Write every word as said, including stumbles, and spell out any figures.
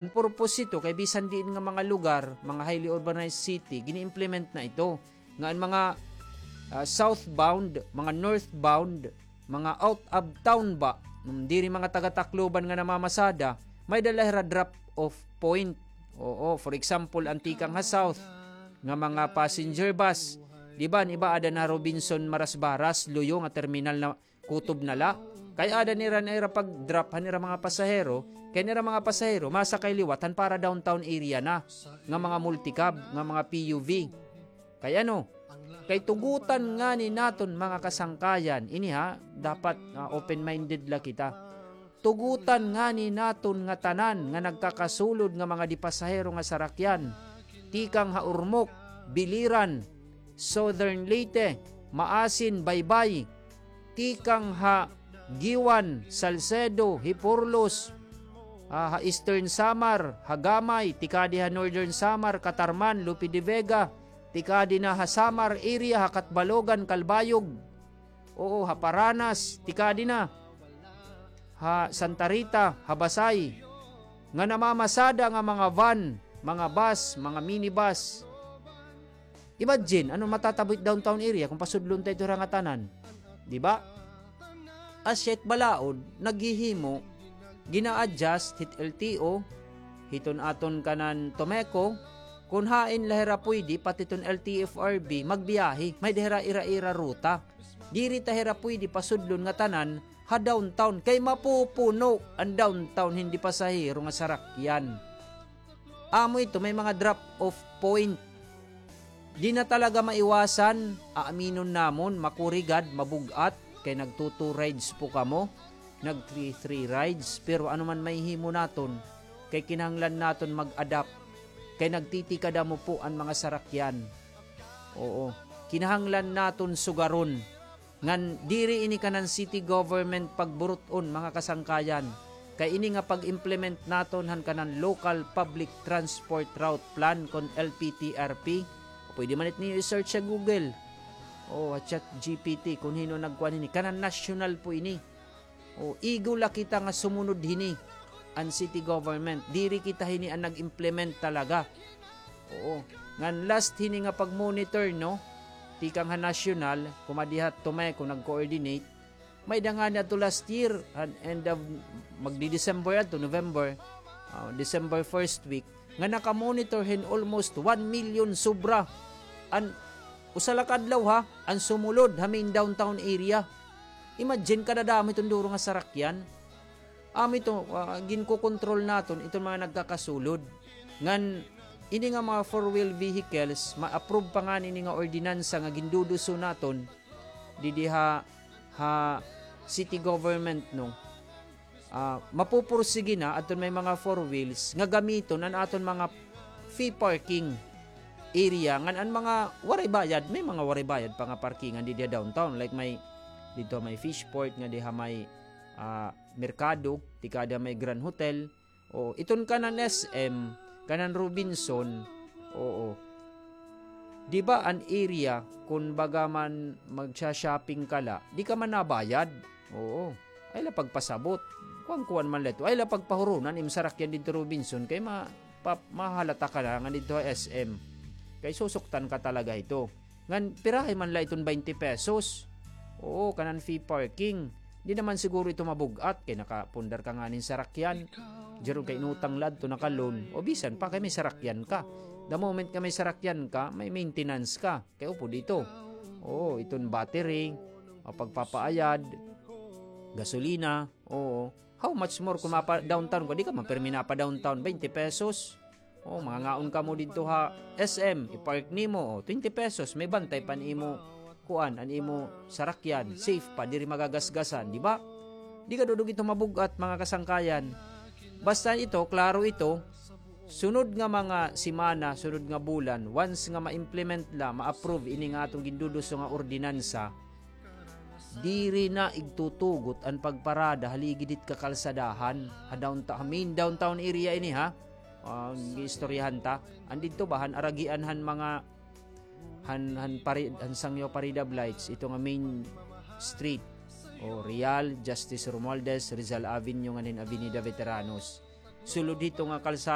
An purpose ito kay bisan diin nga mga lugar, mga highly urbanized city, gini-implement na ito. Nga an mga, ah, southbound, mga northbound, mga out of town ba, mm, diri mga taga Tacloban nga namamasada, may-ada la hira drop off point. Oo, for example, an tikang ha south nga mga passenger bus, di ba, an iba aada na Robinson Marasbaras, luyo nga terminal na kutob na la. Kay aada nira na ira pag-drop han ira mga pasahero, kay an ira mga pasahero masakay liwat han para downtown area na, nga mga multicab, nga mga P U V. Kay ano? Kay tugutan ngani naton, mga kasangkayan, ini ha, dapat, ah, open-minded la kita. Tugutan ngani naton ngatanan nga nagkakasulod nga mga di pasahero nga sarakyan, tikang ha Ormoc, Biliran, Southern Leyte, Maasin, Baybay, tikang ha Guiuan, Salcedo, Giporlos, ah, ha Eastern Samar, ha Gamay, tikadi ha Northern Samar, Catarman, Lope de Vega, tikadi na ha Samar area, ha Catbalogan, Calbayog, oo, ha Paranas, tikadi na ha Santa Rita, ha Basay, nga namamasada nga mga van, mga bus, mga minibus. Imagine, ano matatabo hit downtown area kon pasudlon ta ito hira ngatanan? Di ba? Asya it balaod, naghihimo, gina-adjust hit L T O, hiton aton kanan TOMECO, kon hain la hira pwede, pati iton L T F R B, magbiyahe, may-ada hira ira-ira ruta. Diri ta hira pwede pasudlon ngatanan ha downtown, kay mapupuno an downtown hin di pasahero nga sarakyan. Amo ito, may mga drop-off point. Di na talaga maiwasan, aaminon namon, makurigad, mabug-at, kay nagtu-two rides po kamo, nag-three-three rides, pero ano man mahihimo naton, kay kinahanglan naton mag-adapt, kay nagtitikadamo po an mga sarakyan. Oo, kinahanglan naton sugaron. Ngan diri ini kanan city government pagburut-on, mga kasangkayan. Kay ini nga pag-implement naton han kanan Local Public Transport Route Plan kon L P T R P, pwede man it niyo i-search sa Google o ha Chat G P T kon hin-o nagkuan hini. Kanan national po ini. O, igo la kita nga sumunod hini an city government. Diri kita hini an nag-implement talaga. Oo. Ngan last hini nga pag-monitor, no? Tikang ha national, kumadi ha TOMECO nag-coordinate. May-ada ngani adto last year, an end of, magdi-December adto, November, ah, December first week, nga naka-monitor hin almost one million sobra an usa la ka adlaw, ha, an sumulod ha main downtown area. Imagine, kadadamo hiton duro nga sarakyan. Amo ito, ah, ginkokontrol naton iton mga nagkakasulod. Ngan ini nga mga four-wheel vehicles, ma-approve pa ngani ini nga ordinansa nga ginduduso naton didi ha, ha city government, no? Ah, mapupursige na adton may mga four wheels nga gamiton an aton mga fee parking area, ngan an mga waray bayad, may mga waray bayad pa nga parkingan didi ha downtown, like may didto may Fishport, nga diha may, ah, merkado, tikadi ha may Grand Hotel, o iton kanan S M, kanan Robinson, oo. Di ba an area, kun baga man magsha-shopping ka la, di ka man nabayad. Oo. Ay la pagpasabot. Kuan-kuan man la ito. Ay la pagpahuron an im sarakyan didto Robinson, kay ma-, pa-, mahalata ka na nga didto ha S M. Kay susuktan ka talaga ito. Ngan pirahay man la iton twenty pesos. Oo, kanan fee parking. Di naman siguro ito mabug-at kay nakapundar ka ngani hin sarakyan. Diyaron kay inutang la adto, naka-loan. O bisan pa kay may sarakyan ka. The moment nga may sarakyan ka, may maintenance ka. Kay upod ito. Oo, iton battery, ah, pagpapaayad, gasolina, oo. How much more kung mapa-downtown ka? Di ka man pirmi napa-downtown, twenty pesos. O, mangangaon kamo didto ha S M, i-park nimo, o, twenty pesos, may bantay pa an imo, kuan, an imo sarakyan, safe pa, diri magagasgasan, di ba? Di kadudog ito mabug-at, mga kasangkayan. Basta ito, klaro ito, sunod nga mga semana, sunod nga bulan, once nga ma-implement la, ma-approve ini nga aton ginduduso nga ordinansa, diri na igtutugot an pagparada ha ligid hit kakalsadahan, ha downta-, ha main downtown area ini, ha. Ah, giistoryahan ta. An didto ba, han aragian han mga, han, han pari-, han Sangyaw Parade of Lights, ito nga main street. O, Real, Justice Romualdez, Rizal Avenue, ngan hin Avenida Veteranos. sulod hito nga kalsada.